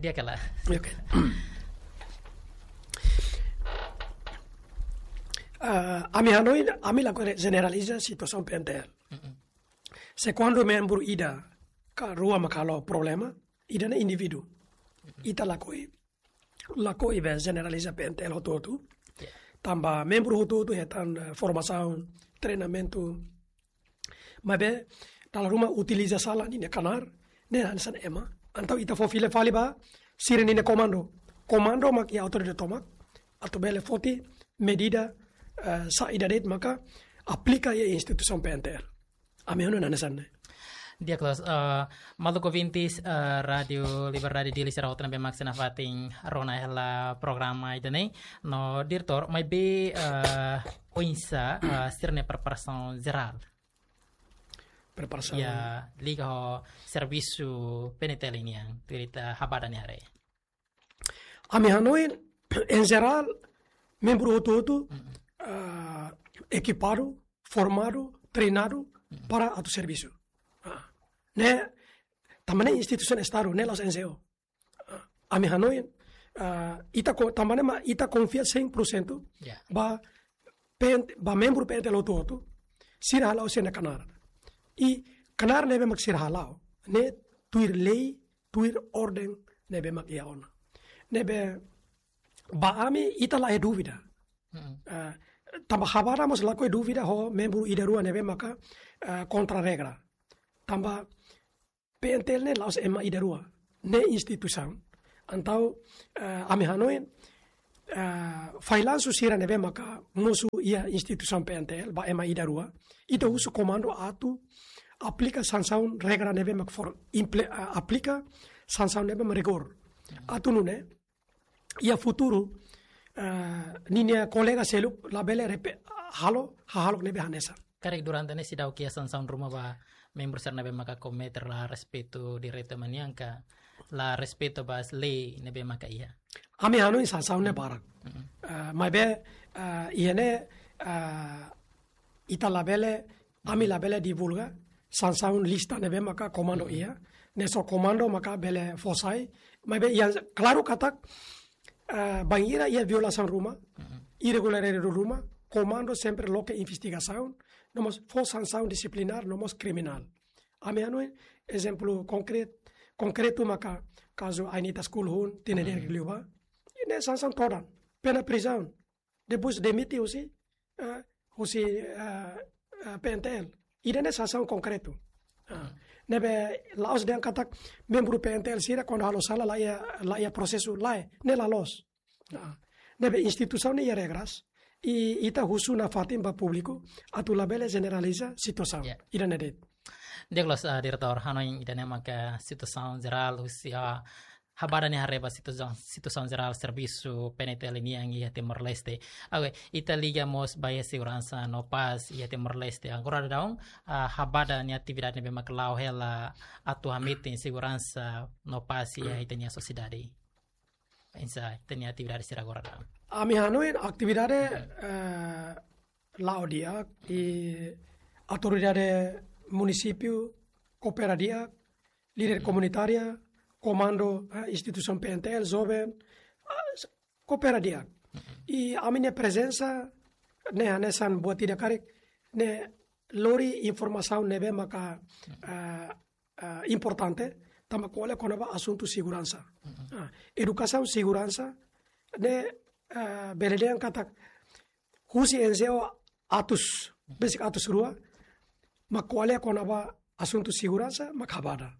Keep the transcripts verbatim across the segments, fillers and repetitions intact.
Di'ak hela. Oke. Ah, ami hanoin, ami lakohi jeneraliza situasaun P N T L. Se kuandu membru ida ka rua mak halo problema, ida-ne'e indivíduu. Ita lakohi, lakohi be jeneraliza P N T L hotu-hotu. Tanba membru hotu-hotu hetan, eh, formasaun, treinamentu. Maibé, dala ruma utiliza sala ninia knaar, ne'e hanesan ema. Entaun ita fó fila fali ba sira-ninia komandu. Komandu mak iha autoridade tomak, atu bele foti medida, eh, saida de'it maka aplika iha instituisaun P N T L. Ami hanoin hanesan ne'e. Di'ak loos, eh, maluk ouvintes, eh, Rádio Liberdade Dili sira hotu ne'ebé mak sei nafatin rona hela programa ida-ne'e. No diretór, maibé, eh, oinsá, eh, sira-nia preparasaun jerál. Preparasaun. Ya, liga ho servisu P N T L nian, tuir ita habada nia haree. Ami hanoin, em geral, membru hotu-hotu, ah, ekipadu, formadu, treinadu para atu servisu. Ah, ne'e, tanba ne'e instituisaun Estadu, ne'e la'ós N G O. Ah, ami hanoin, ah, ita ko-, tanba ne'e mak ita konfia cem por cento Ya. ba P N T, ba membru P N T L hotu-hotu, sira hala'o sira-nia knaar. I knaar ne'ebé mak sira hala'o, ne'e tuir lei, tuir orden ne'ebé mak iha ona. Ne'ebé ba ami ita la iha dúvida. Mm-mm. Ah, tanba habada mós lakohi dúvida ho membru ida rua ne'ebé maka, ah, kontra regra. Tanba P N T L ne'e la'ós ema ida rua, ne'e instituisaun. Entaun, eh, ami hanoin, eh, failansu sira ne'ebé maka mosu iha instituisaun P N T L, ba ema ida rua, ita husu komandu atu aplika sansaun regra ne'ebé mak for, imple-, eh, aplika sansaun ne'ebé mak rigór. Atu nune'e, iha futuru, eh, ninia kolega seluk labele repe-, halo, hahalok ne'ebé hanesan. Karik durante ne'e seidauk iha sansaun ruma ba membru sira ne'ebé maka komete la respeitu direitu ema nian ka la respeitu ba lei ne'ebé maka iha. Ami hanoin sansaun ne'e barak. Mm-mm. Eh, maibé, eh, iha ne'e, eh, ita labele, ami labele divulga sansaun lista ne'ebé maka komandu iha. Ne'e só komandu maka bele fó sai. Maibé iha klaru katak, eh, bainhira iha violasaun ruma, irregularidade ruma, komandu sempre loke investigasaun, no mós fó sansaun disiplinár, no mós kriminál. Ami hanoin ezemplu konkret-, konkretu maka kazu Ainita School hun, tinan ida liubá. I ne'e sansaun todan, pena prizaun. Depois demite husi, eh, husi, eh, eh, P N T L. Ida-ne'e sansaun konkretu. Ah, ne'ebé la'ós dehan katak membru P N T L sira kuandu halo sala la iha, la iha prosesu, lae, ne'e la loos. Ah, ne'ebé instituisaun ne'e iha regras, i ita husu nafatin ba públiku, atu labele jeneraliza situasaun. Ya. Ida-ne'e de'it. Di'ak loos, ah, diretór, hanoin ida-ne'e maka situasaun jerál husi, ah, habada nia haree ba situasaun, situasaun jerál servisu P N T L nian iha Timor-Leste. Oke, ita liga mós ba iha seguransa no pás iha Timor-Leste. Agora daudaun, ah, habada nia atividade ne'ebé mak la'o hela atu hametin seguransa no pás iha ita-nia sosiedade. Oinsá ita-nia atividade sira agora daudaun? Ami hanoin atividade, eh, la'o di'ak, i autoridade munisípiu koopera di'ak, líder komunitária, komandu, eh, instituisaun P N T L, joven, ah, s-, koopera di'ak. I ami-nia prezensa ne'e hanesan buat ida karik, ne'e lori informasaun ne'ebé maka, eh, eh, importante, tanba ko'alia kona-ba asuntu seguransa. Ah, edukasaun seguransa ne'e, eh, bele dehan katak husi N G O atus, besik atus rua, mak ko'alia kona-ba asuntu seguransa, mak habada.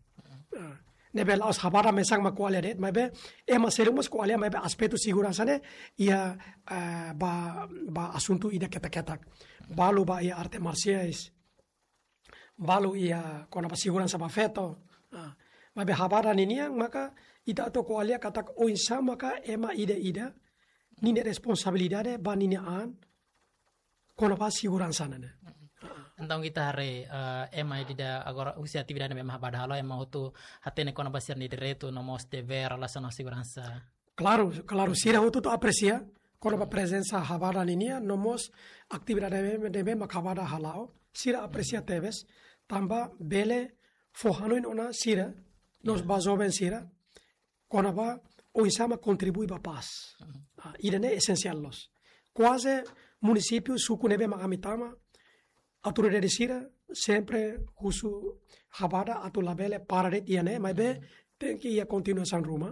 Ah, ne'ebé la'ós habada mesak mak ko'alia de'it, maibé ema seluk mós ko'alia, maibé aspetu seguransa ne'e iha, eh, ba, ba asuntu ida ketak-ketak. Balu ba iha arte marsiais, balu iha kona-ba seguransa ba feto. Ah, maibé habada ninian maka ita atu ko'alia katak oinsá maka ema ida-ida ninia responsabilidade ba ninia an kona-ba seguransa ne'e. Entaun ita haree, eh, ema ida-ida agora husi atividade ne'ebé mak habada halo, ema hotu hatene kona-ba sira-nia direitu no mós devér relasiona ho seguransa. Klaru, klaru, sira hotu-hotu apresia kona-ba prezensa habada ninian, no mós atividade ne'ebé, ne'ebé mak habada hala'o, sira apresia tebes, tanba bele fó hanoin ona sira, no mós ba joven sira, kona-ba oinsá mak kontribui ba pás. Ah, ida-ne'e esensiál loos. Kuaze munisípiu, suku ne'ebé mak ami tama, autoridade sira sempre husu Habada atu labele para de'it iha ne'e, maibé tenke iha kontinuasaun ruma.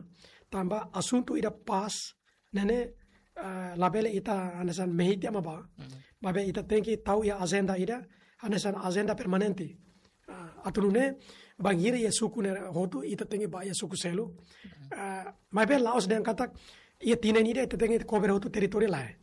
Tanba asuntu ida pás ne'e ne'e, ah, labele ita hanesan mehi tiha mak bá. Maibé ita tenke tau iha ajenda ida, hanesan ajenda permanente. Ah, atu nune'e, bainhira iha suku ne'e hotu, ita tenke bá iha suku seluk. Ah, maibé la'ós dehan katak iha tinan ida ita tenke kobre hotu territóriu, lae.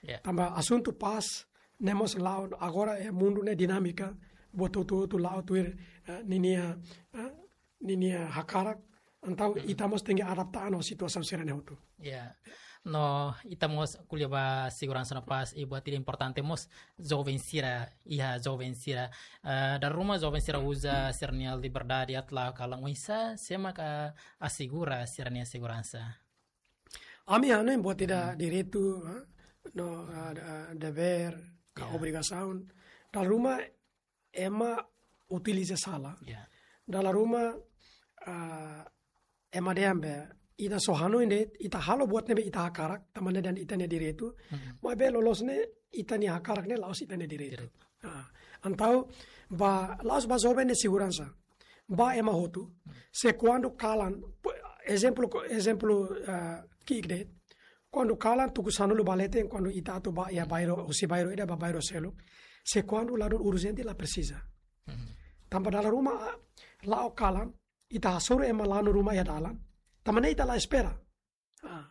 Ya. Tanba asuntu pás ne'e mós la'o, agora iha mundu ne'e dinámika, buat hotu-hotu la'o tuir, eh, ninia, eh, ninia hakarak, entaun ita mós tenke adapta ona situasaun sira-ne'e hotu. Ya. No, ita mós ko'alia ba seguransa no pás, i buat ida importante mós joven sira, iha joven sira. Eh, dala ruma joven sira uza sira-nia liberdade atu la'o kalan, oinsá, sé mak asegura sira-nia seguransa. Ami hanoin buat ida direitu, ha? No, ah, ah, devér, ka obrigasaun. Dala ruma ema utiliza sala. Ya. Dala ruma, ah, ema dehan be, ita só hanoin de'it, ita halo buat ne'ebé ita hakarak, tanba ne'e dehan ita-nia direitu. Maibé loloos ne'e, ita-nia hakarak ne'e la'ós ita-nia direitu. Direitu. Ah, entaun, ba, la'ós ba joven nia seguransa. Ba ema hotu. Se kuandu kalan, pu-, ezemplu, ko-, ezemplu, ah, ki'ik de'it. Kuandu kalan tuku sanulu ba leten, kuandu ita atu bá iha bairru, husi bairru ida ba bairru seluk. Se kuandu ladún urjente la presiza. Tanba dala ruma, ah, la'o kalan, ita hasoru ema lanu ruma iha dalan. Tanba ne'e ita la espera. Ah.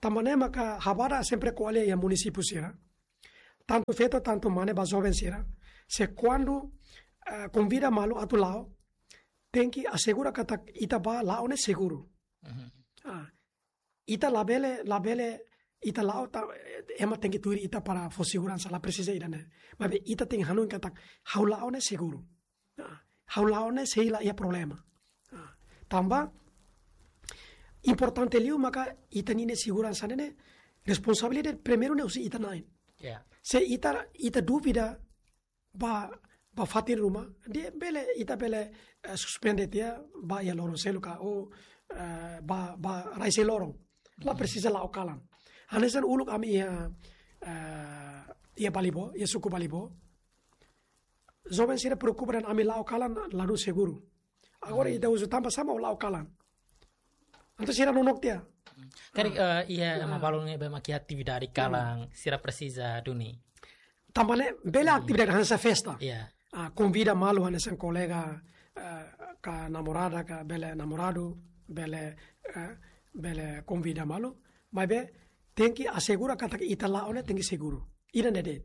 Tanba ne'e maka Habada sempre ko'alia iha munisípiu sira. Tantu feto, tantu mane ba joven sira. Se kuandu, eh, konvida malu atu la'o, tenke asegura katak ita bá la'o ne'e seguru. Ah. Ita labele, labele, ita la'o ta, ema tenke tuir ita para fó seguransa, la presiza ida-ne'e. Maibé ita tenke hanoin katak, ha'u la'o ne'e seguru. Ah, ha'u la'o ne'e sei la iha problema. Ah, tanba importante liu maka ita-nia seguransa ne'e ne'e responsabilidade primeiru ne'e husi ita na'in. Ya. Se ita, ita dúvida ba, ba fatin ruma, dehan bele, ita bele, eh, suspende tiha, bá iha loron seluk ka, ou, eh, bá, bá rai-sai loron. La presiza la'o kalan. Hanesan uluk ami iha, eh, iha Balibó, iha suku Balibó. Joven sira preokupa dehan ami la'o kalan ladún seguru. Agora ita husu tanba sá mak la'o kalan. Entaun sira nonook tiha. Karik, eh, iha ema balu ne'ebé mak iha atividade kalan, sira presiza duni. Tanba ne'e bele atividade hanesan festa. Ya. Ah, konvida malu hanesan kolega, eh, ka namorada, ka bele namoradu, bele, eh, bele konvida malu. Maibé tenke asegura katak ita la'o ne'e tenke seguru. Ida-ne'e de'it.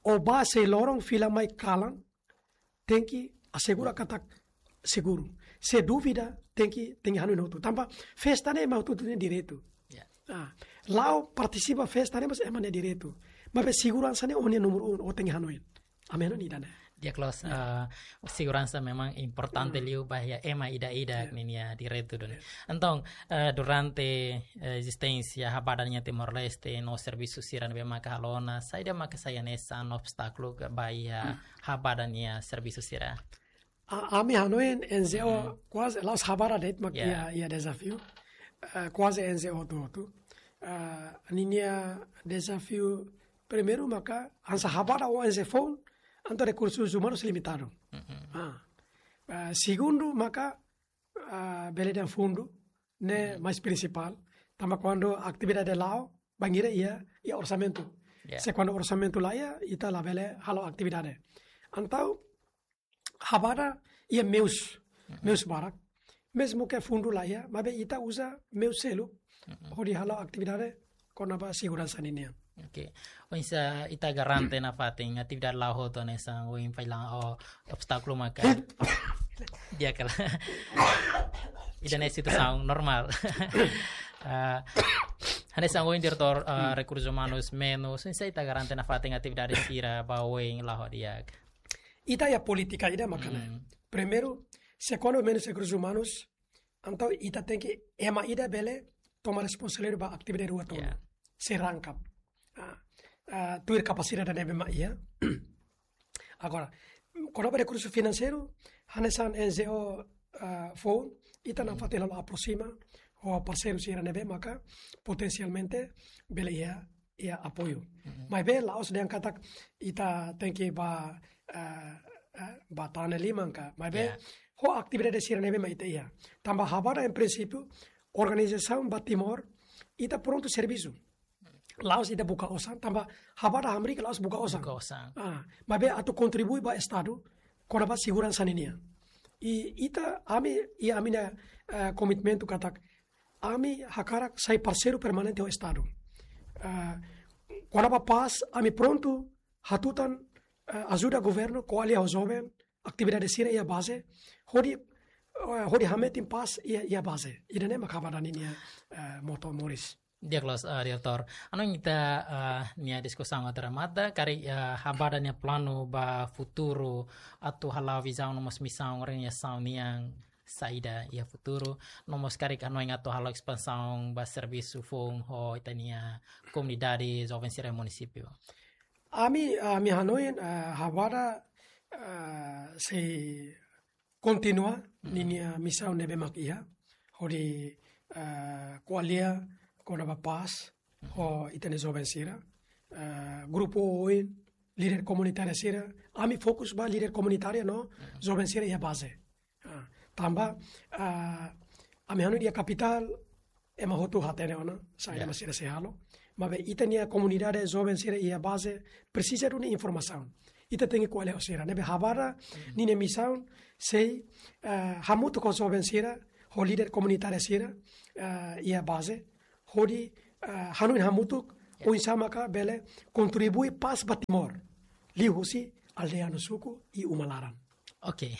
Ó bá sei loron fila mai kalan, tenke asegura katak seguru. Se dúvida, tenke, tenke hanoin hotu. Tanba festa ne'e ema hotu-hotu nia direitu. Ya. Ah, la'o partisipa festa ne'e mós ema nia direitu. Maibé seguransa ne'e ó-nia númeru un, ó tenke hanoin. Ami hanoin ida-ne'e. Di'ak loos, eh, seguransa memang importante liu ba iha ema ida-idak ninia direitu duni. Entaun, eh, durante, eh, ezisténsia Habada nian Timor-Leste no servisu sira ne'ebé maka halo ona, saida maka sai hanesan obstákulu ba iha Habada nia servisu sira? A, ami hanoin N G O kuaze, la'ós Habada de'it mak iha, iha dezafiu. Eh, kuaze N G O hotu-hotu. Eh, ninia dezafiu primeiru maka hanesan Habada ou N G O foun, entaun rekursus umanus limitadu. Ah. Eh, segundu maka, ah, bele dehan fundu ne'e mais prinsipál. Tanba kuandu atividade la'o, bainhira iha, iha orsamentu. Ya. Se kuandu orsamentu la iha, ita labele halo atividade. Entaun, Habada iha meius, meius barak. Mezmu ke fundu la iha, maibé ita uza meius seluk hodi halo atividade kona-ba seguransa ninian. Oke. Oinsá ita garante nafatin atividade la'o hotu hanesan ohin fali ha'u obstákulu maka. Di'ak kala. Ida-ne'e situasaun normál. Ah, hanesan ohin diretór, ah, rekursus umanus menus, oinsá ita garante nafatin atividade sira ba oin la'o di'ak. Ita iha polítika ida mak ne'e. Primeiru, se kuandu menus rekursus umanus, entaun ita tenke ema ida bele toma responsabilidade ba atividade rua tolu. Ya. Sei rangkap. Ah, ah, tuir kapasidade ne'ebé mak iha. Agora, kona-ba rekursu finanseiru, hanesan N G O, ah, foun, ita nafatin halo aproxima, ho parseiru sira ne'ebé maka potensialmente bele iha, iha apoiu. Maibé la'ós dehan katak ita tenke ba, eh, eh, ba tane liman ka. Maibé ho atividade sira ne'ebé mak ita iha. Tanba Habada em princípio organizasaun ba Timor, ita prontu servisu. La'ós ita buka osan, tanba Habada hamriik la'ós buka osan. Buka osan. Ah, maibé atu kontribui ba Estadu kona-ba seguransa ninian. I ita, ami, i ami-nia, eh, komitmentu katak ami hakarak sai parseiru permanente ho Estadu. Eh, kona-ba pás, ami prontu hatutan, eh, ajuda governu ko'alia ho joven, atividade sira iha baze, hodi, eh, hodi hametin pás iha, iha baze. Ida-ne'e mak Habada ninia, eh, moto moris. Di'ak loos, eh, Diretór. Hanoin ita, eh, nia diskusaun atu remata, karik, eh, Habada nia planu ba futuru atu hala'o vizaun no mós misaun organizasaun nian saida iha futuru, no mós karik hanoin atu hala'o espansaun ba servisu foun ho ita-nia komunidade joven sira munisípiu. Ami, ami hanoin, eh, Habada, eh, sei kontinua ninia misaun ne'ebé mak iha, hodi, eh, ko'alia kona-ba pás ho ita-nia joven sira, eh, grupu oin, líder komunitáriu sira, ami fokus ba líder komunitáriu no joven sira iha baze. Ah, tanba, ah, ami hanoin iha kapitál, ema hotu hatene ona saida mak sira sei halo. Maibé ita-nia komunidade joven sira iha baze presiza duni informasaun. Ita tenke ko'alia ho sira. Ne'ebé Habada ninia misaun sei, eh, hamutuk ho joven sira, ho líder komunitáriu sira, eh, iha baze, hodi, eh, hanoin hamutuk oinsá maka bele kontribui pás ba Timor, liuhusi aldeia no suku i uma laran. Oke.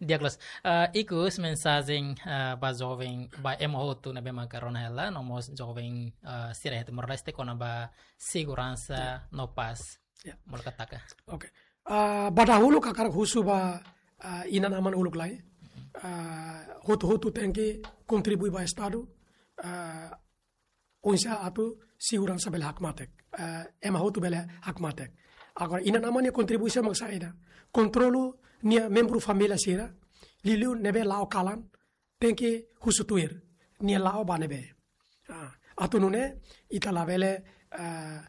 Di'ak loos. Eh, ikus mensajen, eh, ba joven, ba ema hotu ne'ebé maka rona hela, no mós joven, eh, sira iha Timor-Leste kona-ba seguransa no pás. Ya. Molok taka. Oke. Ah, ba dahuluk hakarak husu ba, ah, inan-aman uluk lai. Ah, hotu-hotu tenke kontribui ba Estadu. Ah, oinsá atu seguransa bele hakmatek. Eh, ema hotu bele hakmatek. Agora, inan-aman nia kontribuisaun mak saida? Kontrolu nia membru família sira, liuliu ne'ebé la'o kalan, tenke husu tuir, nia la'o ba ne'ebé. Ah, atu nune'e, ita labele, eh,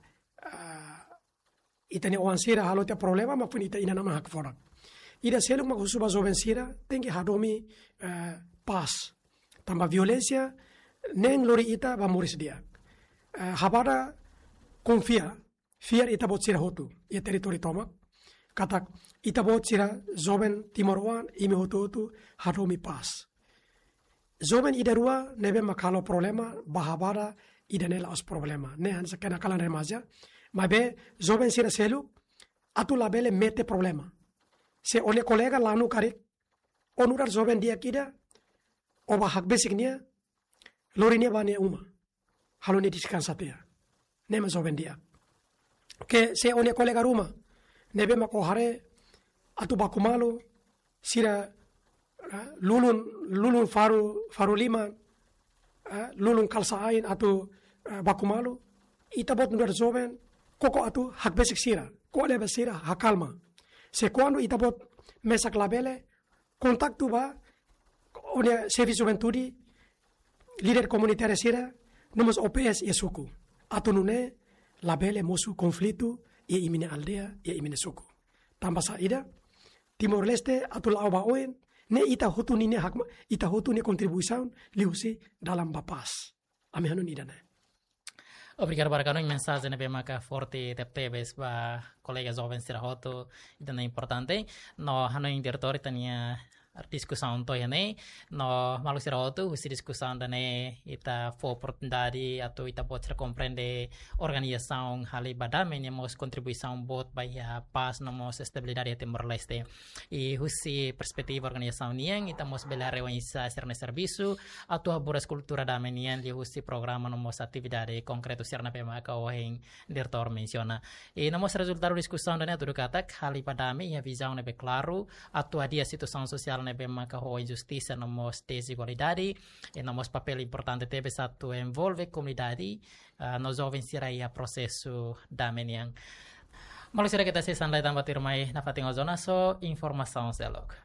eh, ita-nia oan sira halo tiha problema, maibé ita inan-aman hakfodak. Ida seluk mak husu ba joven sira, tenke hadomi, eh, pás. Tanba violénsia, nein lori ita ba moris di'ak. Eh, Habada konfia, fiar ita-boot sira hotu, iha territóriu tomak, katak ita-boot sira joven timoroan, imi hotu-hotu hadomi pás. Joven ida-rua ne'ebé mak halo problema, ba Habada ida-ne'e la'ós problema. Ne'e hanesan kenakalan remaja. Maibé joven sira seluk atu labele mete problema. Se ó-nia kolega lanu karik, ó nu'udar joven di'ak ida, ó bá hakbesik nia, lori nia ba nia uma. Halo nia deskansa tiha. Ne'e mak joven di'ak. Ke se ó-nia kolega ruma ne'ebé mak ó haree atu baku malu, sira, eh, lulun, lulun faru, faru liman, eh, lulun kalsa ain atu, eh, baku malu, ita-boot nu'udar joven koko atu hakbesik sira, ko'alia ba sira, hakalma. Se kuandu ita-boot mesak labele, kontaktu ba ó-nia xefe juventude, líder komunitáriu sira, no mós O P S iha suku. Atu nune'e labele mosu konflitu iha imi-nia aldeia, iha imi-nia suku. Tanba saida, Timor-Leste atu la'o ba oin, ne'e ita hotu ninia hakma-, ita hotu nia kontribuisaun liuhusi dalan ba pás. Ami hanoin ida-ne'e. Obrigadu barak, hanoin mensajen ne'ebé maka forte tebetebes ba kolega joven sira hotu, ida-ne'e importante. No hanoin Diretór, ita-nia diskusaun to'o iha ne'e, no maluk sira hotu, husi diskusaun ida-ne'e ita fó oportunidade atu ita-boot sira komprende organizasaun Hali ba Dame nia mós kontribuisaun boot ba iha pás no mós estabilidade iha Timor-Leste. I husi perspetiva organizasaun nian, ita mós bele haree oinsá sira-nia servisu atu haburas kultura dame nian liuhusi programa no mós atividade konkretu sira ne'ebé maka ohin Diretór mensiona. I no mós rezultadu diskusaun ida-ne'e hatudu katak Hali ba Dame iha vizaun ne'ebé klaru atu hadi'a situasaun sosiál ne'ebé maka ho injustisa no mós dezigualdade. I no mós papél importante tebes atu envolve komunidade, ah, no joven sira iha prosesu dame nian. Maluk sira, keta sei hanesan da'et tan ba tuirmai nafatin ho Jonas ho informasaun seluk.